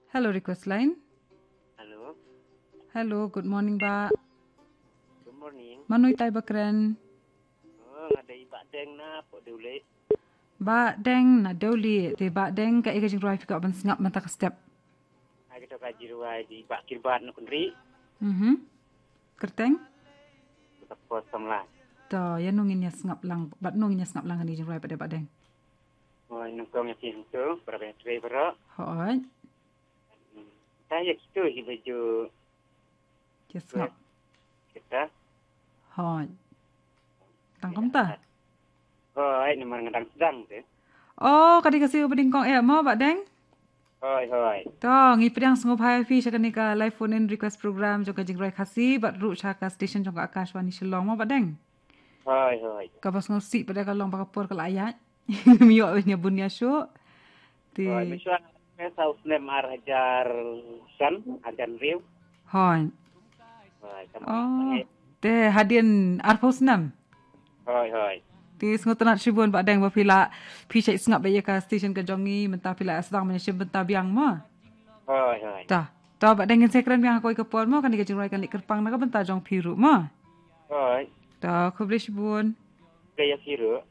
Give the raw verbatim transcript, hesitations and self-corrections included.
Hello, request line. Hello. Hello, good morning, Bah. Good morning. Mano itai ba kren? Oh, nga dei Bah Deng na Pokdewleh. Bah Deng na Dewleh, te Bah Deng ka ïa ka jingrwai phi kwah ban sngap mynta ka step. Ai ka to ka jingrwai di Bah Kirbad na Kynri. Mhm. Kyrteng? Ka Pos Samla. To, ïa nongin ïa sngap lang, bad nongin ïa sngap lang kane ka jingrwai pat de Bah Deng. Oi, nongkong ïa phi hangto, para bang trei baroh. Hoi. Hmm. Ta ïa kito hi baju. Ïa sngap. Kita. Hoi. Tang kumta. Hoi, namar nga dang sdang te. Oh, ka dei ka siew ba ding kong eh mo Bah Deng? Hoi, hoi. To, ngi pdiang sngewbha ïa phi sha kane ka live phone in request program jong ka jingrwai Khasi bad ruh sha ka station jong ka Akashvani Shillong mo Bah Deng. Hoi, hoi. Kaba sngewsih pat de ka long ba ka por ka la ïaid. Ngim ïoh ïa bun ïa shuh. Te. Hoi, mynshwa ka saw snem ar hajar san, ar hajar hynriew. Hoi. Hoi, kam Oh. Te hadien arphew snem. Hoi, hoi. Te sngewtynnat shibun Bah Deng ba phi la phi shait sngap ïa ka station ka jong ngi mynta phi la sdang ban shim bynta biang mo. Hoi, hoi. Ta. Ta Bah Deng ngin sa kren biang ha kawei ka por mo kane ka jingrwai kan leit kyrpang na ka bynta jong phi ruh mo. Hoi. Ta khublei shibun. Khublei ïa phi ruh.